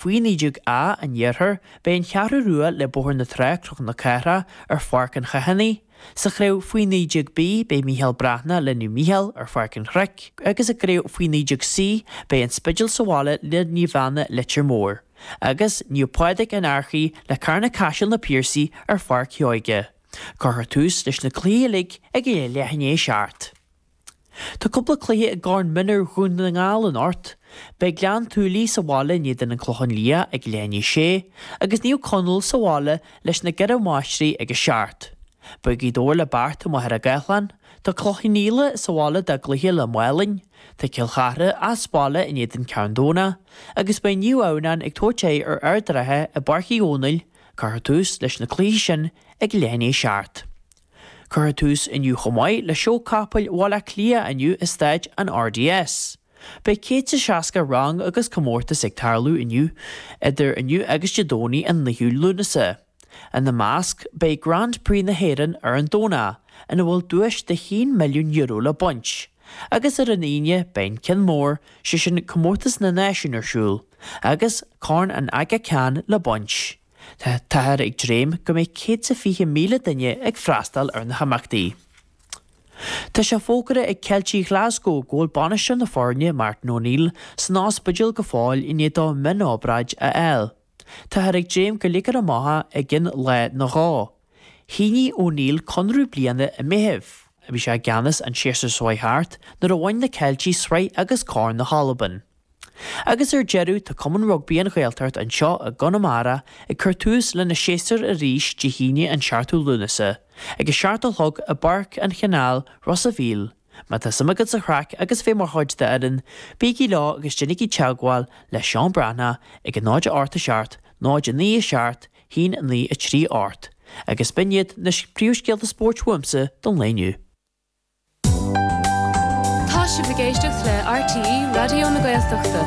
Faoi 19A an Iarthair, beidh an Cheathrú Rua le Bóthar na Trá, Cnoc na Cathrach, ar Pháirc an Chathánaigh. Sa chraobh faoi 19B, beidh Mícheál Breathnach le Naomh Mícheál ar Pháirc an Chnoic agus i gcraobh faoi 19C, beidh An Spidéal sa bhaile le Naomh Anna Leitir Móir, agus Naomh Pádraig an Fhairche le Carna Caiseal na Piarsaigh ar Pháirc Sheoige. Cuirfear tús leis na cluichí uilig ag a leath i ndiaidh a 7. Tá cúpla cluiche i gCorn Mionúir Dhún na nGall anocht. Beidh Gleann tSúilí sa bhaile in éadan an Clochán Liath ag leath i ndiaidh 6 agus Naomh Conaill sa bhaile leis na gCeithre Máistrí ag a 7. Beidh Gaoth Dobhair le Beart i Machaire Gathlán, tá Cloich Cheann Fhaola sa bhaile dá gcluiche le Málainn, tá Cill Chartha as baile in éadan Ceann Domhnach agus beidh Naomh Adhamhnáin ag tabhairt aghaidh ar Ard an Rátha i bPáirc Uí Dhónaill, cuirfear tús leis na cluichí sin ag leath i ndiaidh 7. Cuirfear tús inniu chomh maith le Seó Capaill Bhaile Átha Cliath inniu i Staid an RDS. Beidh 160 rang agus comórtas ag tarlú inniu idir inniu agus Dé Domhnaigh an 9ú Lúnasa. Ina measc beidh Grand Prix na hÉireann ar an Domhnach, ina bhfuil duais de €1 milliún le baint, agus ar an Aoine beidh an ceann mór, sé sin Comórtas na Náisiún ar siúl, agus Corn an Aga Khan le baint. Táthar ag dréim go mbeidh 120,000 duine ag freastal ar na himeachtaí. Tá sé fógartha ag Ceiltigh Ghlaschú go bhfuil bainisteoir na foirne, Martin O'Neill, san ospidéal go fóill i ndiaidh dó mionobráid a fháil. Táthar ag dréim go ligfear amach é i gcionn lá nó dhó. Shínigh O'Neill conradh bliana i Meitheamh. Bhí sé i gceannas an séasúr seo chuaigh thart nuair a bhain na Ceiltigh sraith agus Corn na hAlban. Agus ar deireadh, tá Cumann Rugbaí An Ghaeltacht anseo i gConamara ag cur tús lena séasúr arís Dé hAoine an 7ú Lúnasa, ag a 7 a chlog i bPáirc an Chanáil, Ros a' Mhíl. Má tá suim agat sa chraic agus bheith mar chuid d'fhoireann, bígí leo agus déanaigí teagmháil le Seán Breathnach ag 0 8 7 0 9 7 1 9 3 8. Agus b'in iad na príomhscéalta spóirt uaimse don lae inniu. Tá sibh ag éisteacht le RTÉ Raidió na Gaeltachta.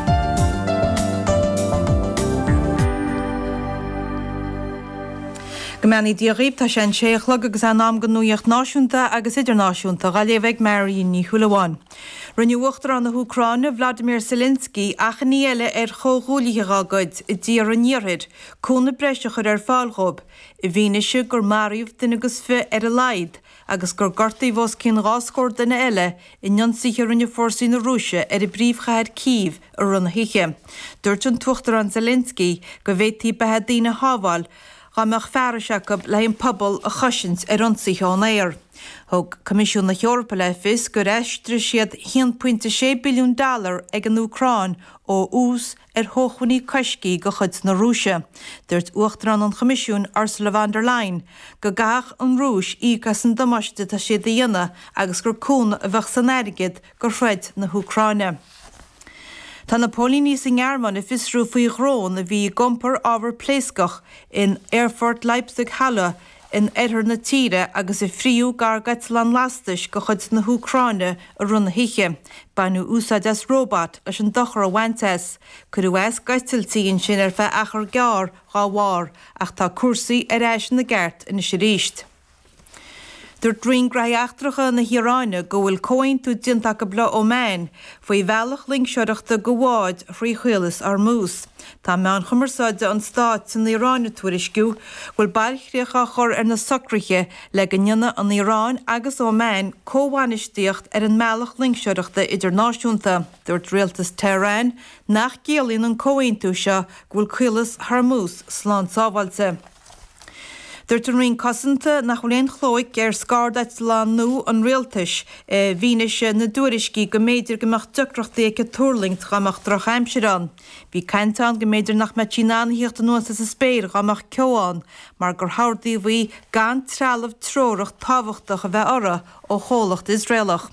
Go mbeannaí Dia dhaoibh, tá sé an sé a chlog agus é in am don nuaíocht náisiúnta agus idirnáisiúnta dhá léamh ag Marion Ní Shúilleabháin. Rinne Uachtarán na hÚcráine, Vladimir Zelensky, achainí eile ar chomhghuaillithe dá gcuid i dtíortha an Iarthair cúnamh breise a chur ar fáil dhóibh i bhfianaise gur maraíodh duine agus fi ar a laghad agus gur gortaíodh os cionn dhá scór duine eile in ionsaithe a rinne fórsaí na Rúise ar an bpríomhchathair Cív i rith na hoíche. Dúirt an tUachtarán Zelensky go bhféadfaí beatha daoine a shábháil dá mbeadh fearais acu le an pobal a chosaint ar ionsaithe ón aer. Thug Coimisiún na hEorpa le fios gur aistrigh siad 1.6 billiún dollar ag an Úcráin ó ús ar shócmhainní coiscthe de chuid na Rúise. Dúirt Uachtarán an Choimisiúin, Ursula von der Leyen, go gcaithfeadh an Rúis íoc as an damáiste atá siad a dhéanamh agus gur cúnamh a bheadh san airgead do throid na hÚcráine. Tá na póilíní sa nGearmáin ag fiosrú faoi dhrón a bhí ag iompar ábhar pléascach in aerfort Leipzig-Halle in oirthear na tíre agus a frítheadh gar d'eitleán lastais de chuid na hÚcráine i rith na hoíche. Baineadh úsáid as róbat leis an dochar a bhaint as. Cuireadh as d'eitiltí ansin ar feadh achar gearr dá bharr ach tá cúrsaí ar ais ina gceart anois arís. Dúirt Roinn Gnóthaí Eachtracha na hIaráine go bhfuil comhaontú déanta acu le Oman faoi bhealach loingseoireachta do bháid thrí Chaolas Hormuz. Tá meáin chumarsáide an stáit san Iaráin ag tuairisciú go bhfuil bailchríoch á chur ar na socruithe le go ndéanfaidh an Iaráin agus Oman comhbhainistíocht ar an mbealach loingseoireachta idirnáisiúnta. Dúirt rialtas Tehran nach gciallaíonn an comhaontú seo go bhfuil Caolas Hormuz slán sábháilte. Dúirt an Roinn Cosanta nach bhfuil aon chlóic ar scairdeitleán nua an rialtais i bhfianaise na dtuairiscí go mb'fhéidir go mbeadh deacrachtaí aici tuirlingt dá mbeadh drochaimsir ann. Bhí caint ann go mb'fhéidir nach mbeadh sí in ann a thíocht anuas as an spéir dá mbeadh ceo ann mar gur hordaíodh í gan trealamh treorach tábhachtach a bheith uirthi ó chomhlacht Iosraelach.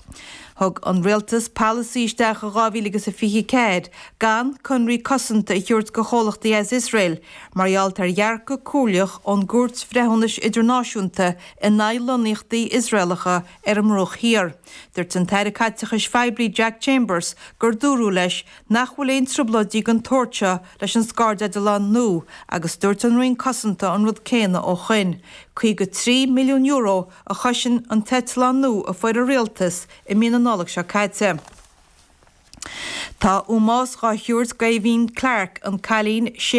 Thug an rialtas polasaí isteach in 2024 gan conraí cosanta a thabhairt do chomhlachtaí as Iosrael mar gheall ar dhearcadh comhairleach ón gCúirt Bhreithiúnais Idirnáisiúnta in aghaidh lonnaíochtaí Iosraelacha ar an mBruach Thiar. Dúirt an tAire Caiteachais Phoiblí Jack Chambers gur dúradh leis nach bhfuil aon trioblóidí den tsórt seo leis an scairdeitleán nua agus dúirt an Roinn Cosanta an rud céanna ó shoin. €53 milliún a chosain an t-eitleán nua a fuair an rialtas i mí na Nollag seo caite. Tá ómós dhá thabhairt d'Aoibhinn Clarke, an cailín 6.